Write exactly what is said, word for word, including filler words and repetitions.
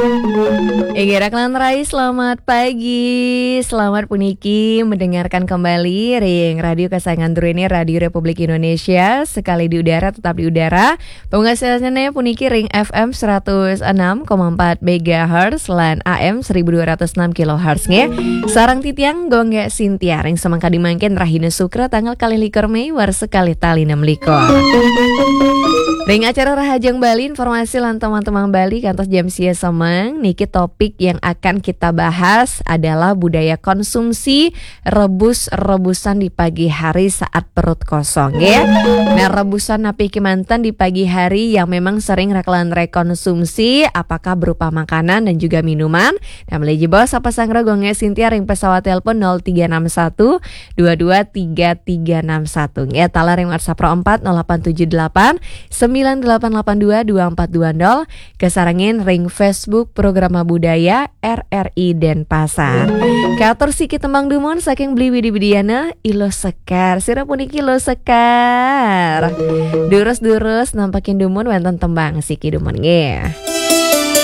Inggih, Raklan Rai, selamat pagi. Selamat puniki mendengarkan kembali ring radio kesayangan druene, Radio Republik Indonesia, sekali di udara tetap di udara. Pungkasane puniki ring F M seratus enam koma empat megahertz lan A M seribu dua ratus enam kilohertz nggih. Sareng titiang Gung Sintia ring semeng kadi mangkin, rahina Sukra, tanggal kalih likur Mei, warsa kalih tali enam likur. Ring acara Rahajeng Bali, informasi lan teman-teman Bali kantos jam sia semeng. Niki topik yang akan kita bahas adalah budaya konsumsi rebus-rebusan di pagi hari saat perut kosong, ya. Nah, rebusan napi kemanten di pagi hari yang memang sering Raklan Rai konsumsi, apakah berupa makanan dan juga minuman? Nah, malih jebos apa sanggra Gung Sintia ring pesawat telepon nol tiga enam satu dua dua tiga tiga enam satu. Ya, taler ring WhatsApp Pro empat nol delapan tujuh delapan sembilan delapan delapan dua dua empat dua nol. Kasarengin ring Facebook Programa Budaya R R I Denpasar. Katur siki tembang dumun saking Beli Widi Widiana, Iluh Sekar. Sira puniki Iluh Sekar. Durus-durus nampakin dumun, wenten tembang siki dumun nggih.